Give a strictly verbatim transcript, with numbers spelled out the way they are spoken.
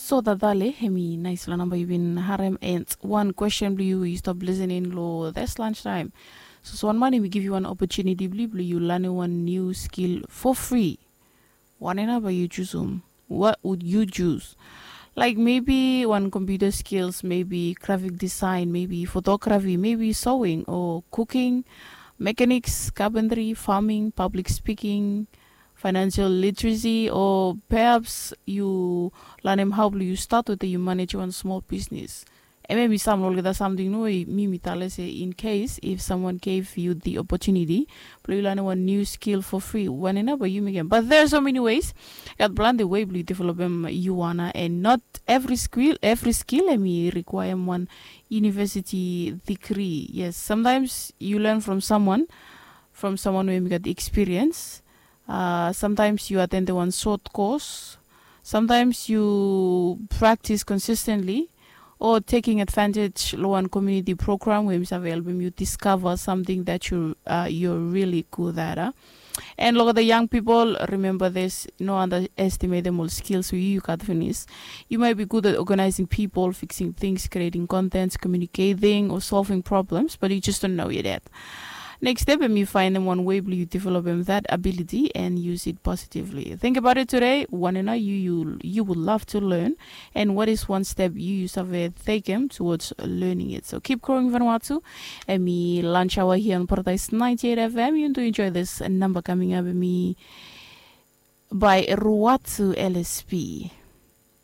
So that dale, hemi nais long namba yu bin harem and one question blue you, you stop listening lo this lunch time. So so one man hemi give you one opportunity blue blue you learn one new skill for free. One and about you choose um. What would you choose? Like maybe one computer skills, maybe graphic design, maybe photography, maybe sewing or cooking, mechanics, carpentry, farming, public speaking, financial literacy, or perhaps you learn him how you start with you manage one small business. Em em i sam olgeta samting no we mi mi tale se in case if someone gave you the opportunity blong you learn one new skill for free, wanem nao ba you mekem, but there are so many ways. Gat planti way blong you developem you wanna, and not every skill every skill em i requirem one university degree. Yes, sometimes you learn from someone, from someone wey mi gat experience. Uh, sometimes you attend one short course. Sometimes you practice consistently or taking advantage lo one community program wey mi save helpem you discover something that you uh, you're really good at uh. And look at the young people, remember this, no underestimate them all skills we you got finish. You might be good at organizing people, fixing things, creating contents, communicating or solving problems, but you just don't know yet. Next step em you find them one way blong you develop them that ability and use it positively. Think about it today, one and you you you would love to learn, and what is one step you you save take them towards learning it. So keep growing Vanuatu. Em i lunch hour here on Paradise ninety-eight F M. You do enjoy this number coming up, em i by Ruatu L S P.